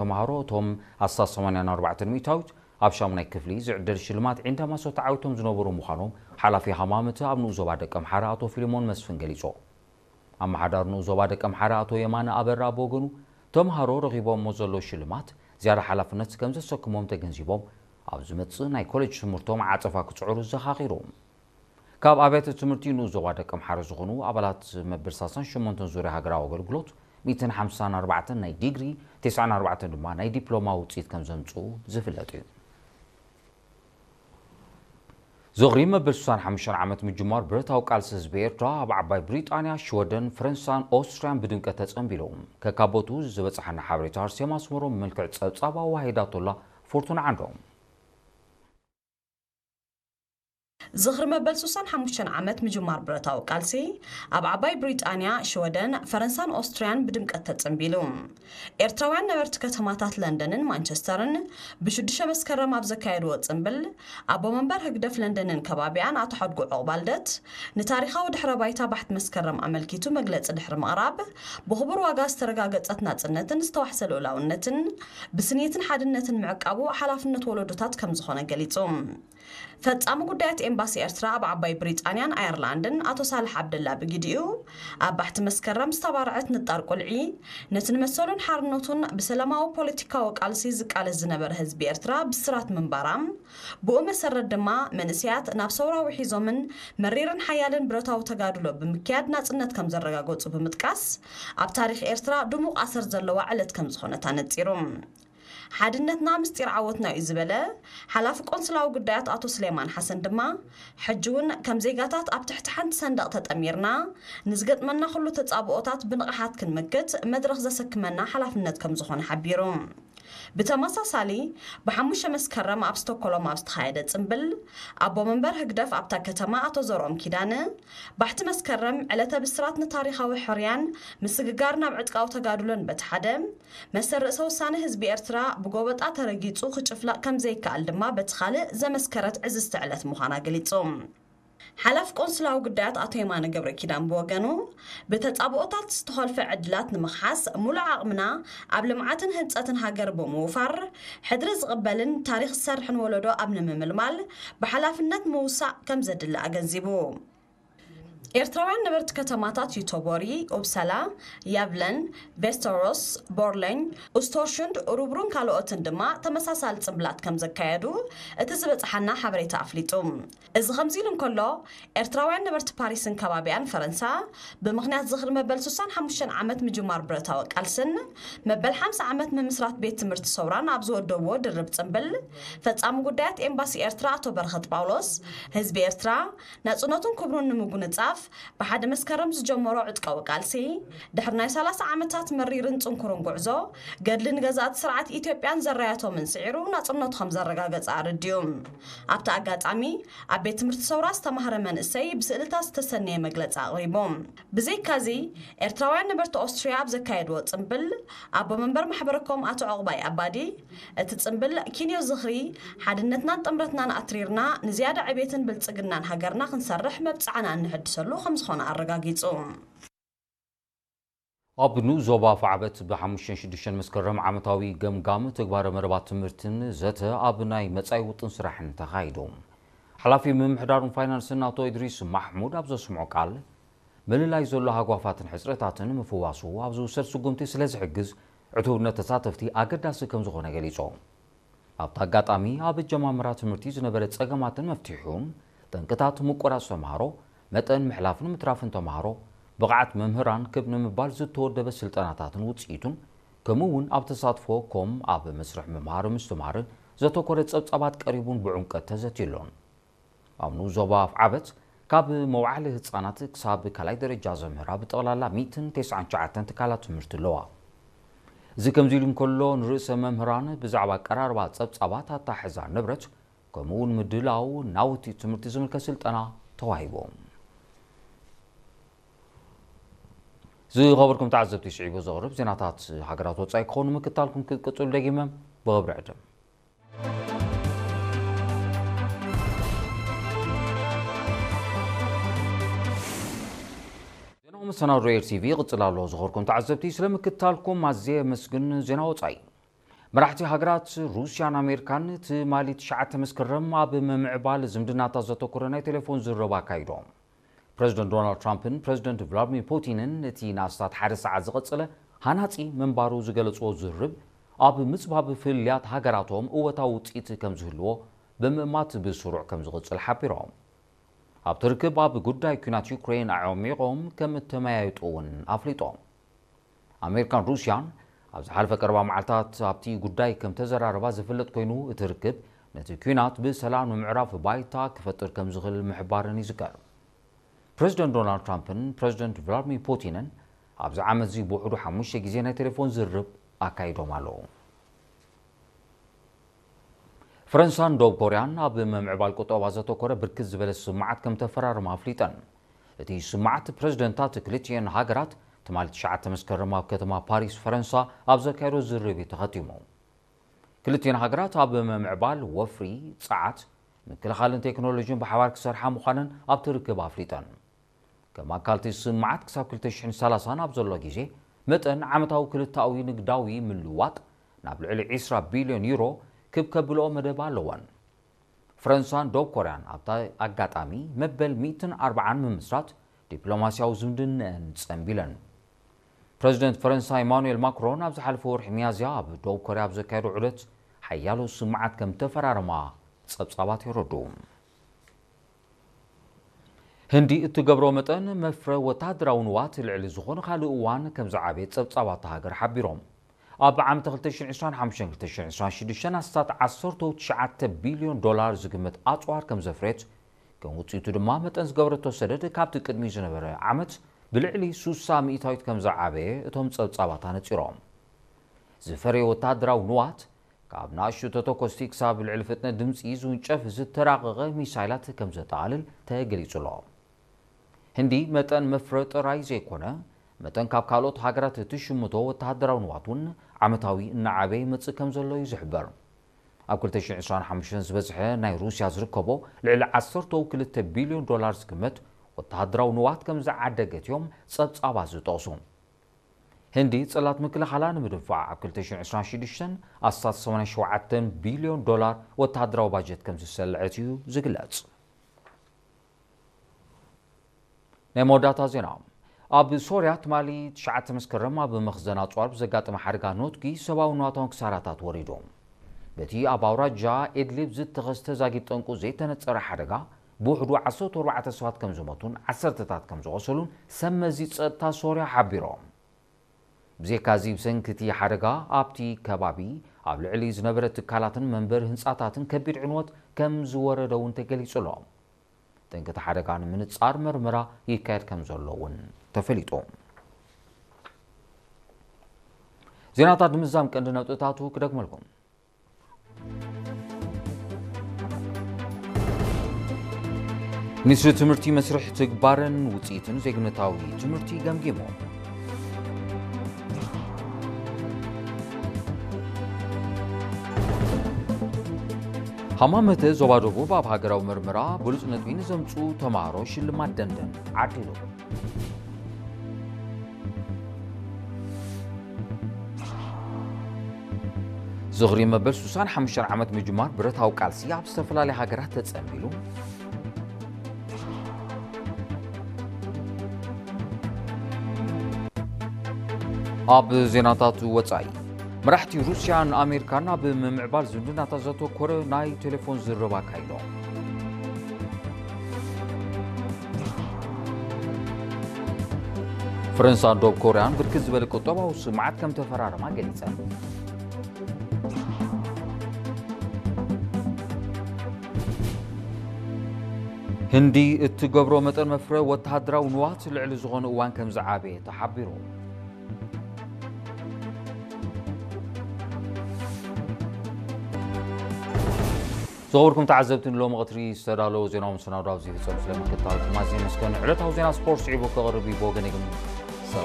ተምሃሮ እቶም ኣስታት ሰማንያን ኣርባዕተን ሚእታዊት ኣብ ሻሙናይ ክፍሊ ዝዕደል ሽልማት ዒንዳማሶ ተዓዊቶም ዝነበሩ ምዃኖም ሓላፊ ሃማመተ ኣብ ንኡስ ዞባ ደቀምሓረ ኣቶ ፊልሞን መስፍን ገሊጹ። ኣመሓዳሪ ንኡስ ዞባ ደቀምሓረ ኣቶ የማነ ኣበራ ብወገኑ፣ ተምሃሮ ረኺቦሞ ዘለዉ ሽልማት ዝያዳ ሓላፍነት ከም ዘሰክሞም ተገንዚቦም፣ ኣብ ዝመጽእ ናይ ኮሌጅ ትምህርቶም ዓጸፋ ክጽዕሩ ዘኻኺሩ። ካብ ኣብያተ ትምህርቲ ንኡስ ዞባ ደቀምሓረ ዝኾኑ ኣባላት መበል ሰላሳን ሸሞንተን ዙርያ ሃገራዊ ኣገልግሎት፣ ሚእትን ሓምሳን ኣርባዕተን ናይ ዲግሪ፣ ተስዓን ኣርባዕተን ድማ ናይ ዲፕሎማ ውጽኢት ከም ዘምጽኡ ዝፍለጥ እዩ። ዝኽሪ መበል ስሳን ሓሙሽተን ዓመት ምጅማር ብረታዊ ቃልሲ ህዝቢ ኤርትራ ኣብ ዓባይ ብሪጣንያ፣ ሽወደን፣ ፈረንሳን ኦስትርያን ብድምቀት ተጸንቢሉ። ከካቦቱ ዝበጽሓና ሓበሬታ ኣርሴማ ኣስመሮም ብመልክዕ ጸብጻብ ኣዋሂዳቶላ። ፎርቱና ዓንዶም። ዝኽሪ መበል ስሳን ሓሙሽተን ዓመት ምጅማር ብረታዊ ቃልሲ ኣብ ዓባይ ብሪጣንያ፣ ሽወደን፣ ፈረንሳን ኦስትርያን ብድምቀት ተጸንቢሉ። ኤርትራውያን ነበርቲ ከተማታት ለንደንን ማንቸስተርን ብሽዱሽተ መስከረም ኣብ ዘካየድዎ ጽምብል፣ ኣቦ መንበር ህግደፍ ለንደንን ከባቢኣን ኣቶ ሓድጉ ዑቕባልደት፣ ንታሪኻዊ ድሕረ ባይታ ባሕቲ መስከረም ኣመልኪቱ መግለጺ ድሕሪ ምቕራብ፣ ብኽቡር ዋጋ ዝተረጋገጸት ናጽነትን ዝተዋሕሰ ልኡላውነትን ብስኒትን ሓድነትን ምዕቃቡ ሓላፍነት ወለዶታት ከም ዝኾነ ገሊጹ። ፈጻሚ ጉዳያት ኤምባሲ ኤርትራ ኣብ ዓባይ ብሪጣንያን ኣየርላንድን ኣቶ ሳልሕ ዓብደላ ብግዲኡ፣ ኣብ ባሕቲ መስከረም ዝተባርዐት ንጣር ቁልዒ፣ ነቲ ንመሰሉን ሓርነቱን ብሰላማዊ ፖለቲካዊ ቃልሲ ዝቃለስ ዝነበረ ህዝቢ ኤርትራ ብስራት ምንባራ፣ ብኡ መሰረት ድማ መንእሰያት ናብ ሰውራ ውሒዞምን መሪርን ሓያልን ብረታዊ ተጋድሎ ብምክያድ ናጽነት ከም ዘረጋገጹ ብምጥቃስ፣ ኣብ ታሪኽ ኤርትራ ድሙቕ ኣሰር ዘለዋ ዕለት ከም ዝኾነት ኣነጺሩ። ሓድነትና ምስጢር ዓወትና እዩ ዝበለ ሓላፊ ቆንስላዊ ጉዳያት ኣቶ ስሌማን ሓሰን ድማ፣ ሕጂ እውን ከም ዜጋታት ኣብ ትሕቲ ሓንቲ ሰንደቕ ተጠሚርና ንዝገጥመና ኩሉ ተጻብኦታት ብንቕሓት ክንምክት መድረኽ ዘሰክመና ሓላፍነት ከም ዝኾነ ሓቢሩ። ብተመሳሳሊ፣ ብሓሙሽተ መስከረም ኣብ ስቶኮሎም ኣብ ዝተኻየደ ጽምብል፣ ኣቦ መንበር ህግደፍ ኣብታ ከተማ ኣቶ ዘርኦም ኪዳነ፣ ባሕቲ መስከረም ዕለተ ብስራት ንታሪኻዊ ሕርያን ምስግጋር ናብ ዕጥቃዊ ተጋድሎን በቲ ሓደ፣ መሰል ርእሰ ውሳነ ህዝቢ ኤርትራ ብጎበጣ ተረጊጹ ክጭፍለቕ ከም ዘይከኣል ድማ በቲ ካልእ ዘመስከረት ዕዝዝቲ ዕለት ምዃና ገሊጹ። ሓላፊ ቆንስላዊ ጉዳያት ኣቶ የማነ ገብረ ኪዳን ብወገኑ፣ ብተጻብኦታት ዝተኾልፈ ዕድላት ንምኽሓስ ሙሉእ ዓቕምና ኣብ ልምዓትን ህንጸትን ሃገር ብምውፋር፣ ሕድሪ ዝቕበልን ታሪኽ ዝሰርሕን ወለዶ ኣብ ንምምልማል ብሓላፍነት ምውሳእ ከም ዘድሊ ኣገንዚቡ። ኤርትራውያን ነበርቲ ከተማታት ዩቶቦሪ፣ ኡፕሳላ፣ ያቭለን፣ ቬስተሮስ፣ ቦርለኝ፣ ኡስቶርሹንድ፣ ኡሩብሩን ካልኦትን ድማ ተመሳሳሊ ጽምብላት ከም ዘካየዱ እቲ ዝበጽሓና ሓበሬታ ኣፍሊጡ። እዚ ከምዚ ኢሉ እንከሎ፣ ኤርትራውያን ነበርቲ ፓሪስን ከባቢኣን ፈረንሳ፣ ብምኽንያት ዝኽሪ መበል ስሳን ሓሙሽተን ዓመት ምጅማር ብረታዊ ቃልስን መበል ሓምሳ ዓመት ምምስራት ቤት ትምህርቲ ሰውራን ኣብ ዝወደብዎ ድርብ ጽምብል፣ ፈጻሚ ጉዳያት ኤምባሲ ኤርትራ ኣቶ በረኸት ጳውሎስ፣ ህዝቢ ኤርትራ ናጽነቱን ክብሩን ንምጉንጻፍ ብሓደ መስከረም ዝጀመሮ ዕጥቃዊ ቃልሲ፣ ድሕሪ ናይ ሰላሳ ዓመታት መሪርን ጽንኩርን ጉዕዞ፣ ገድሊ ንገዛእቲ ስርዓት ኢትዮጵያን ዘራያቶምን ስዒሩ ናጽነቱ ከም ዘረጋገጸ ኣረዲኡ። ኣብቲ ኣጋጣሚ፣ ኣብ ቤት ትምህርቲ ሰውራ ዝተማህረ መንእሰይ ብስእልታት ዝተሰነየ መግለጺ ኣቕሪቡ። ብዘይካዚ፣ ኤርትራውያን ነበርቲ ኦስትርያ ኣብ ዘካየድዎ ጽምብል፣ ኣቦ መንበር ማሕበረኮም ኣቶ ዑቕባይ ኣባዲ፣ እቲ ጽምብል ኪንዮ ዝኽሪ፣ ሓድነትናን ጥምረትናን ኣትሪርና ንዝያዳ ዕቤትን ብልጽግናን ሃገርና ክንሰርሕ መብጽዓና እንሕድሰሉ ከም ዝኾነ ኣረጋጊጹ። ኣብ ንኡስ ዞባ ኣፍዓበት ብሓሙሽተን ሽዱሽተን መስከረም ዓመታዊ ገምጋም ተግባረ መደባት ትምህርትን ዘተ ኣብ ናይ መጻኢ ውጥን ስራሕን ተኻይዱ። ሓላፊ ምምሕዳርን ፋይናንስን ኣቶ ኢድሪስ ማሕሙድ ኣብ ዘስምዖ ቃል፣ ምልላይ ዘሎ ሃጓፋትን ሕጽረታትን ምፍዋሱ ኣብ ዝውሰድ ስጉምቲ ስለ ዝሕግዝ፣ ዕቱብነት ተሳተፍቲ ኣገዳሲ ከም ዝኾነ ገሊጹ። ኣብቲ ኣጋጣሚ፣ ኣብ ኣጀማምራ ትምህርቲ ዝነበረ ጸገማትን መፍትሒኡን፣ ጠንቅታት ምቁራጽ ተምሃሮ፣ መጠን ምሕላፍን ምትራፍን ተምሃሮ፣ ብቕዓት መምህራን ክብ ንምባል ዝተወደበ ስልጠናታትን ውጽኢቱን፣ ከምኡ እውን ኣብ ተሳትፎ ኮም ኣብ መስርሕ ምምሃር ምስትምሃርን ዘተኮረ ጸብጻባት ቀሪቡን ብዕምቀት ተዘትዩሉን። ኣብ ንኡስ ዞባ ኣፍዓበት ካብ መውዓሊ ህጻናት ክሳብ ካልኣይ ደረጃ ዘምህራ ብጠቕላላ ሚእትን ተስዓን ትሽዓተን ትካላት ትምህርቲ ኣለዋ። እዚ ከምዚ ኢሉ እንከሎ፣ ንርእሰ መምህራን ብዛዕባ ኣቀራርባ ጸብጻባት ኣታሕዛ ንብረት፣ ከምኡ እውን ምድላው ናውቲ ትምህርቲ ዝምልከት ስልጠና ተዋሂቡ። ዝኸበርኩም ተዓዘብቲ፣ ስዒቡ ዘቕርብ ዜናታት ሃገራት ወጻኢ ክኸውን ምክታልኩም ክትቅጽሉ ደጊመ ብኽብሪ ዕድም። ዜናዊ መሰናዶ ኤር ቲቪ ይቕጽል ኣሎ። ዝኸበርኩም ተዓዘብቲ፣ ስለ ምክታልኩም ኣዝየ የመስግን። ዜና ወጻኢ። መራሕቲ ሃገራት ሩስያን ኣሜሪካን ትማሊ ትሽዓተ መስከረም ኣብ ምምዕባል ዝምድናታት ዘተኮረ ናይ ቴሌፎን ዝርርብ ኣካይዶም። ፕረዚደንት ዶናልድ ትራምፕን ፕረዚደንት ቭላድሚር ፑቲንን እቲ ንኣስታት ሓደ ሰዓት ዝቐጸለ ሃናጺ ምንባሩ ዝገለጽዎ ዝርርብ ኣብ ምጽባብ ፍልልያት ሃገራቶም እወታዊ ውጽኢት ከም ዝህልዎ ብምእማት ብስሩዕ ከም ዝቕጽል ሓቢሮም። ኣብቲ ርክብ ኣብ ጉዳይ ኲናት ዩክሬን ኣዕሚቖም ከም እተመያየጡ እውን ኣፍሊጦም። ኣሜሪካን ሩስያን ኣብ ዝሓለፈ ቀረባ መዓልታት ኣብቲ ጉዳይ ከም ተዘራረባ ዝፍለጥ ኮይኑ፣ እቲ ርክብ ነቲ ኲናት ብሰላም ንምዕራፍ ባይታ ክፈጥር ከም ዝኽእል ምሕባረን ይዝከር። ፕረዚደንት ዶናልድ ትራምፕን ፕረዚደንት ቭላድሚር ፑቲንን ኣብዚ ዓመት እዚ ብውሕዱ ሓሙሽተ ግዜ ናይ ቴሌፎን ዝርርብ ኣካይዶም ኣለዉ። ፈረንሳን ደቡብ ኮርያን ኣብ ምምዕባል ቁጠባ ዘተኮረ ብርክት ዝበለ ስምማዓት ከም ተፈራረማ ኣፍሊጠን። እቲ ስምማዓት ፕረዚደንታት ክልቲኤን ሃገራት ትማሊ ትሽዓተ መስከረም ኣብ ከተማ ፓሪስ ፈረንሳ ኣብ ዘካየዶ ዝርርብ እዩ ተኸቲሙ። ክልቲኤን ሃገራት ኣብ ምምዕባል ወፍሪ፣ ጸዓት፣ ምክልኻልን ቴክኖሎጂን ብሓባር ክሰርሓ ምዃነን ኣብቲ ርክብ ኣፍሊጠን። ከም ኣካል እቲ ስምማዓት ክሳብ ክልተ ሽሕን ሰላሳን ኣብ ዘሎ ግዜ መጠን ዓመታዊ ክልተኣዊ ንግዳዊ ምልውዋጥ ናብ ልዕሊ ዕስራ ቢልዮን ዩሮ ክብ ከብልኦ መደብ ኣለወን። ፈረንሳን ደቡብ ኮርያን ኣብታ ኣጋጣሚ መበል ሚእትን ኣርባዓን ምምስራት ዲፕሎማስያዊ ዝምድነአን ጸንቢለን። ፕረዚደንት ፈረንሳ ኢማኑኤል ማክሮን ኣብ ዝሓለፈ ወርሒ ሚያዝያ ኣብ ደቡብ ኮርያ ኣብ ዘካየዶ ዑደት ሓያሎ ስምማዓት ከም ተፈራረማ ጸብጻባት የረድኡ። ህንዲ እትገብሮ መጠን መፍረ ወተሃደራዊ ንዋት ልዕሊ ዝኾነ ካልእ እዋን ከም ዝዓበየ ጸብጻባት እታ ሃገር ሓቢሮም። ኣብ ዓመተ ክልተ ሽሕን ዕስራን ሓሙሽተን ክልተ ሽሕን ዕስራን ሽዱሽተን ኣስታት ዓሰርተ ትሽዓተ ቢልዮን ዶላር ዝግመት ኣጽዋር ከም ዘፍረየት፣ ከም ውጽኢቱ ድማ መጠን ዝገበረቶ ሰደድ ካብቲ ቅድሚ ዝነበረ ዓመት ብልዕሊ ሱሳ ሚእታዊት ከም ዝዓበየ እቶም ጸብጻባት ኣነጺሮም። ዝፈረየ ወተሃደራዊ ንዋት ካብ ንኣሽቱ ተተኮስቲ ክሳብ ልዕሊ ፍጥነት ድምጺ ዝውንጨፍ ዝተራቐቐ ሚሳይላት ከም ዘጠቓልል ተገሊጹ ኣሎ። ህንዲ መጠን መፍረ ጥራይ ዘይኮነ፣ መጠን ካብ ካልኦት ሃገራት እትሽምቶ ወተሃደራዊ ንዋት እውን ዓመታዊ እናዓበየ ይመጽእ ከም ዘሎ እዩ ዝሕበር። ኣብ ክልተ ሽሕን ዕስራን ሓሙሽተን ዝበዝሐ ናይ ሩስያ ዝርከቦ ልዕሊ ዓሰርተ ክልተ ቢልዮን ዶላር ዝግመት ወተሃደራዊ ንዋት ከም ዝዓደገት እዮም ጸብጻባት ዝጠቕሱ። ህንዲ ጽላት ምክልኻላ ንምድንፋዕ ኣብ ክልተ ሽሕን ዕስራን ሽዱሽተን ኣስታት ሰማንያን ሸውዓተን ቢልዮን ዶላር ወተሃደራዊ ባጀት ከም ዝሰልዐት እዩ ዝግለጽ። ናይ መወዳእታ ዜና። ኣብ ሶርያ ትማሊ ትሽዓተ መስከረም ኣብ መኽዘን ኣጽዋር ብዘጋጠመ ሓደጋ ኖትጊ ሰብኣዊ ንዋታውን ክሳራታት ወሪዱ። በቲ ኣብ ኣውራጃ ኢድሊብ ዝተኸስተ ዛጊድ ጠንቁ ዘይተነጸረ ሓደጋ ብውሕዱ ዓሰርተ ኣርባዕተ ሰባት ከም ዝሞቱን ዓሰርተታት ከም ዝቖሰሉን ሰብ መዚ ጸጥታ ሶርያ ሓቢሮም። ብዘይካዚ ብሰንኪ እቲ ሓደጋ ኣብቲ ከባቢ ኣብ ልዕሊ ዝነበረ ትካላትን መንበሪ ህንጻታትን ከቢድ ዕንወት ከም ዝወረደ እውን ተገሊጹ ኣሎ። ጠንቂ እቲ ሓደጋ ንምንጻር መርመራ ይካየድ ከም ዘሎ እውን ተፈሊጡ። ዜናታት ንምዝዛም ቀንዲ ነጥብታቱ ክደግመልኩም። ሚኒስትሪ ትምህርቲ መስርሕ ትግባረን ውፅኢትን ዜግነታዊ ትምህርቲ ገምጊሙ። ሃማመተ ዞባ ደቡብ ኣብ ሃገራዊ መርመራ ብሉፅ ነጥቢ ንዘምፅኡ ተምሃሮ ሽልማት ደንደን ዓዲሉ። ዝኽሪ መበል ሱሳን ሓሙሽተን ዓመት ምጅማር ብረታዊ ቃልሲ ኣብ ዝተፈላለያ ሃገራት ተጸንቢሉ። ኣብ ዜናታት ወጻኢ፣ መራሕቲ ሩስያን ኣሜሪካን ኣብ ምምዕባል ዝምድናታት ዘተኮረ ናይ ቴሌፎን ዝርርብ ኣካይዶም። ፈረንሳን ደቡብ ኮርያን ብርክት ዝበለ ቁጠባዊ ስምዓት ከም ተፈራረማ ገሊጸን። ህንዲ እትገብሮ መጠን መፍረ ወተሃደራዊ ንዋት ልዕሊ ዝኾነ እዋን ከም ዝዓበየ ተሓቢሩ። ዝኸበርኩም ተዓዘብቲ፣ ንሎሚ ቀትሪ ዝተዳለወ ዜናዊ መሰናዶ ኣብዚ ይፍጸም። ስለ ምክትታልኩም ኣዝየ የመስግን። ዕለታዊ ዜና ስፖርት ስዒቡ ክቐርብ እዩ። ብወገነይ ግን